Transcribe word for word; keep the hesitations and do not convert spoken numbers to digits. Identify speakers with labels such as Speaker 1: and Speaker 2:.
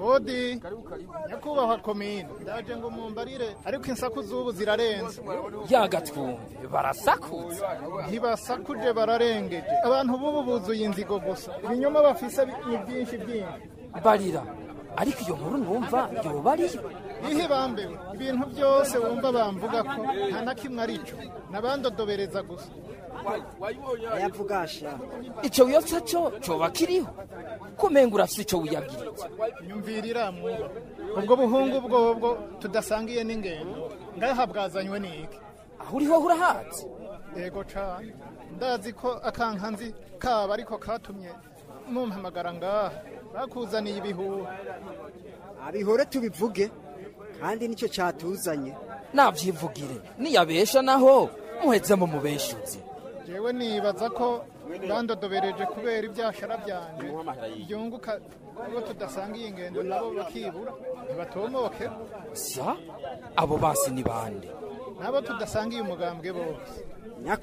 Speaker 1: Odi nyakubahwa komine, ndaje ngo mumbarire, ariko insaku z'ubu zirarenze.
Speaker 2: Yagatwumve barasakutse.
Speaker 1: Ntibasakuje, bararengeje. Abantu b'ubu buzuye inzigo gusa, ibinyoma bafise ni byinshi byinshi.
Speaker 2: Barira, ariko iyo nkuru numva yoba ariyo?
Speaker 1: Ihe bambewe, ibintu byose wumva bamvuga ko nta na kimwe arico, nabandodobereza gusa.
Speaker 3: Ayavugasha
Speaker 2: ico wiyotsa co coba kiriho, kumenga urafise ico wiyabwiritse.
Speaker 1: Nyumvirira mwuba, ubwo buhungu bwobwo tudasangiye n'ingendo ngaha bwazanywe n'iki?
Speaker 2: Aho uriho urahazi?
Speaker 1: Yego cane, ndazi ko akankanzi kaba ariko katumye mumpamagara ngaha. Bakuzaniye ibihuha.
Speaker 3: Abihore tubivuge, kandi nicyo catuzanye.
Speaker 2: Navyivugire, niyabesha naho muheze mu mubeshuzi.
Speaker 1: Jewe nibaza ko bandodobereje kubera ibyashara byanje byunguka ubwo tudasangiye ingendo, nabo bakibura ntibatomoke.
Speaker 2: Sa abo basi ni bande?
Speaker 1: Nabo tudasangiye umugambwe bose.